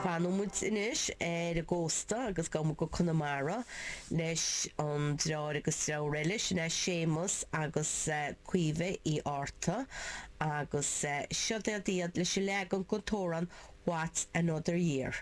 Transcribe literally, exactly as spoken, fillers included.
Fanfaidh muid anois ar an gcósta agus gabhfaidh muid go Conamara leis an deartháir agus deirfiúr eile sin é Séamus agus Caoimhe Uí Fhátharta agus seo iad leis an leagan den t-amhrán What's Another Year.